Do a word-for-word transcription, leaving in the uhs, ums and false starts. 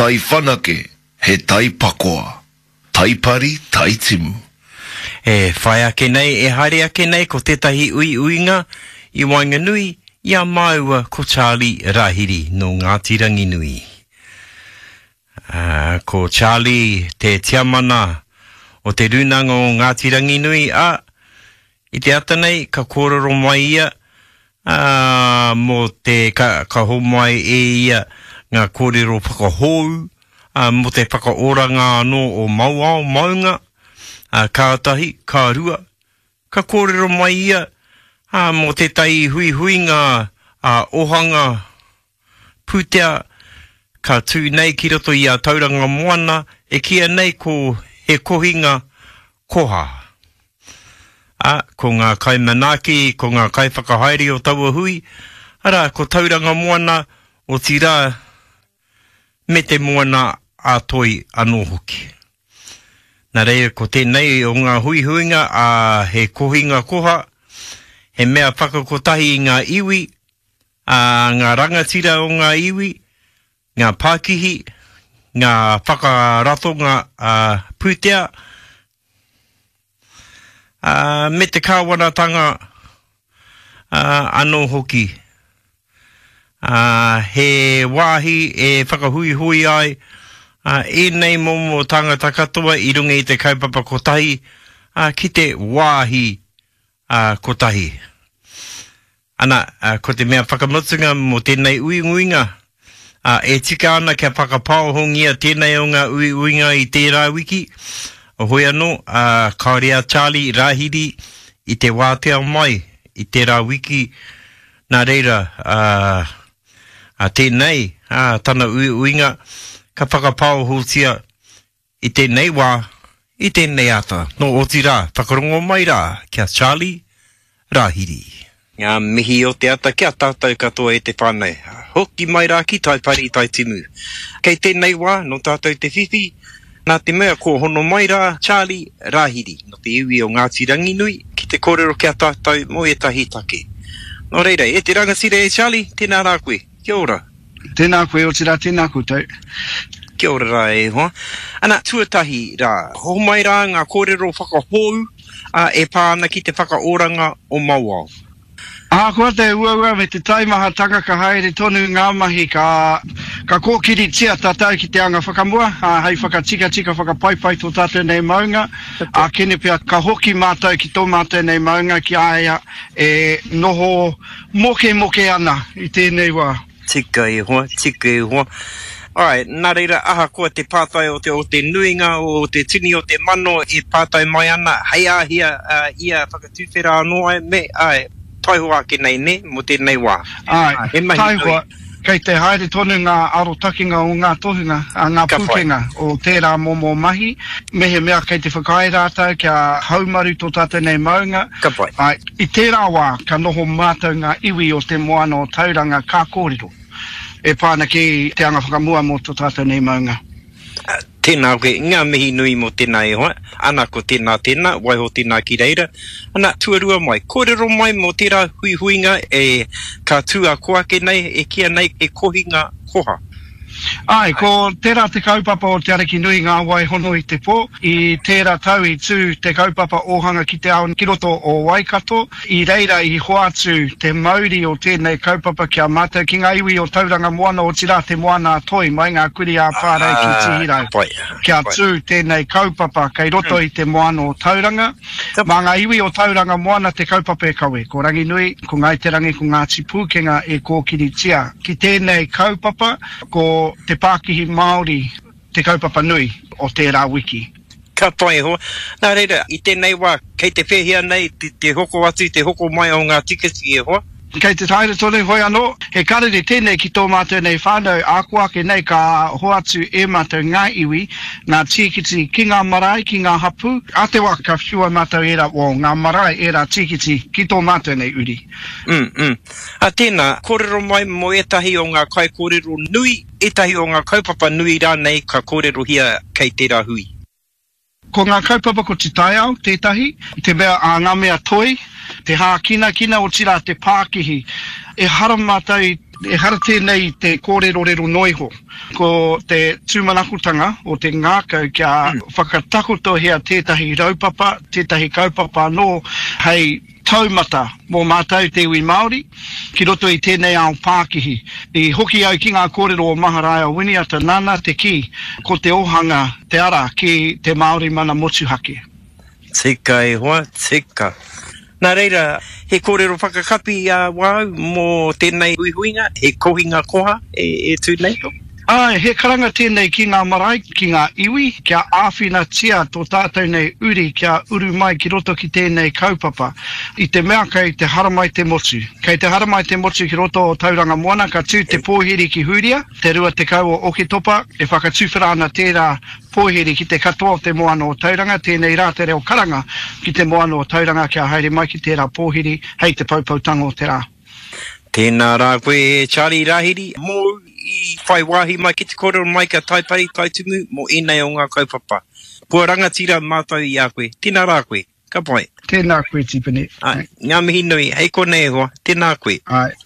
tai whanake, he tai pakoa. Taipari, taitimu. E whai ake nei, e haere ake nei ko tētahi uiuinga i waenganui i a māua ko Charlie Rahiri nō Ngāti Ranginui. Uh, ko Charlie te tiamana o te rūnanga o Ngāti Ranginui, a i te ata nei ka kōrero mai ia uh, mō te ka, ka homai e ia ngā kōrero whakahou uh, mō te whakaoranga anō o Mauao maunga, uh, ka tahi, ka rua, ka kōrero mai ia uh, mō tētahi huihuinga uh, ohanga pūtea ka tū nei ki roto i a Tauranga Moana e kīia nei ko he kohinga koha. A, ko ngā kaimanaaki, ko ngā kaiwhakahaere o taua hui, arā, ko Tauranga Moana, otirā, me te moana a toi anō hoki. Nā reira, ko tēnei o ngā huihuinga a he kohinga koha, he mea whakakotahi i ngā iwi, a ngā rangatira o ngā iwi, ngā pākihi, ngā whakaratonga a pūtea, a, me te kāwanatanga a, anō hoki. A, he wāhi e whakahuihui ai a, ēnei momo tāngata katoa i runga i te kaupapa kotahi a, ki te wāhi a, kotahi. Ana, a, ko te mea whakamutunga mō tēnei uiuinga, a, e tika ana kia whakapaohongia tēnei o ngā uiuinga i tērā wiki, hoi anō, a, kāore a Charlie Rahiri i te wātea mai i tērā wiki, nā reira, a, a tēnei, a, tana uiuinga, ka whakapaohotia i tēnei wā, i tēnei ata. Nō otirā, whakarongo mai rā ki a Charlie Rahiri. Ngā mihi o te ata ki a tātou katoa e te whānau. Hoki mai rā ki Taipari Taitimu. Kei tēnei wā, nō tātou te whiwhi, nā te mea ko hono mai rā Charlie Rahiri, nō te iwi o Ngāti Ranginui, ki te kōrero ki a tātou mō ētahi take. Nō reira, e te rangatira e Charlie, tēnā rā koe. Kia ora. Tēnā koe, otirā, tēnā koutou. Kia ora rā e hoa. Ana, tuatahi rā, homai rā ngā kōrero whakahou a, e pā ana ki te whakaoranga o Mauao. Ahakoa te uaua me te taimahatanga ka haere tonu ngā mahi ka, ka kōkiritia tātou ki te anga whakamua, ā, hei whakatikatika whakapaipai tō tātou nei maunga, ā, kene pea ka hoki mātou ki tō mātou nei maunga ki a ia e noho mokemoke ana i tēnei wā. Tika e hoa, tika e hoa. Ai, nā reira, ahakoa te pātai o te, o te nuinga, o te tini o te mano e pātai mai ana, hei āhea uh, ia whakatuwhera anō ai, me, ai, taihoa ake nei, ne, mō tēnei wā. Ai, He mahi taihoa, nui. kei te haere tonu ngā arotakenga o ngā tohunga, a ngā Ka whai. pūkenga o tērā momo mahi, mehemea kei te whakaae rātou kia haumaru tō tātou nei maunga. Ka pai. Ai, i tērā wā, ka noho mātou ngā iwi o te moana o Tauranga ka kōrero. E pā ana ki te anga whakamua mō tō tātou nei maunga. Tēnā koe, ngā mihi nui mō tēnā e hoa, ana ko tēnā tēnā, waiho tēnā ki reira. Ana, tuarua mai, kōrero mai mō tērā huihuinga e ka tū a ko ake nei, e kīia nei e kohinga koha. Ai, ko tērā te kaupapa o Te Ariki Nui ngā wai hono i te pō. I tērā tau i tū te kaupapa ōhanga ki te ao ki roto o Waikato. I reira i hoatu te mauri o tēnei kaupapa ki a mātou ki ngā iwi o Tauranga Moana, otirā te Moana a Toi, mai ngā kuri ā Whārei ki Ah, Tihirau. ka pai, Kia ka pai. tū tēnei kaupapa kei roto i te Moana o Tauranga. Ka Mā pai. ngā iwi o Tauranga Moana te kaupapa e kawe. Ko Ranginui, ko Ngāi Te Rangi, ko Ngāti Pūkenga e kōkiritia. Ki tēnei kaupapa, ko te Pākihi Māori te kaupapa nui o tērā wiki. Ka pai hoa. Nā reira, i tēnei wā, kei te pēhea nei te, te hoko atu, te hoko mai o ngā tiketi e hoa? Kei te haere tonu hoi anō, he karere tēnei ki tō mātou nei whānau, āko ake nei ka hoatu e mātou ngā iwi, ngā tīkiti ki ngā marae, ki ngā hapū. A te wā ka whiua mātou ērā, well, ngā marae ērā tīkiti ki tō mātou nei uri. Mm, mm. A tēnā, kōrero mai mō ētahi o ngā kaikōrero nui, ētahi o ngā kaupapa nui rānei ka kōrerohia kei tērā hui. Ko ngā kaupapa ko te taiao tētahi, te mea a ngā mea toi, te hākinakina otirā te pākihi. E hara mātou i Ehara tēnei i te kōrerorero noa iho. Ko te tūmanakotanga o te ngākau kia whakatakotohia tētahi raupapa, tētahi kaupapa anō hei taumata mō mātou te iwi Māori ki roto i tēnei ao pākihi. I hoki au ki ngā kōrero o Maharaia Winiata nāna te kī ko te ōhanga te ara ki te Māori mana motuhake. Tika e hoa, tika. Nā reira, he kōrero whakakapi a wāu mō tēnei huihuinga, he kohinga koha e, e tū nei? Āe, he karanga tēnei ki ngā marae, ki ngā iwi, kia āwhinatia tō tātou nei uri kia uru mai ki roto ki tēnei kaupapa. I te mea kei te haramai te motu. Kei te haramai te motu ki roto o Tauranga Moana, ka tū te pōhiri ki Hūria, te rua tekau o Oketopa, e whakatuwhera ana tērā pōhiri ki te katoa o te moana o Tauranga, tēnei rā te reo karanga ki te moana o Tauranga kia haere mai ki tērā pōhiri hei te poupoutanga o te rā. Tēnā rā koe e Charlie Rahiri, mōu i whai wāhi mai ki te kōrero mai ki a Taipari Taitumu mō ēnei o ngā kaupapa. Kua rangatira mātou i a koe. Tēnā rā koe. Ka pai. Tēnā koe Tipene. Āe, ngā mihi nui. Hei konei e hoa. Tēnā koe. Āe.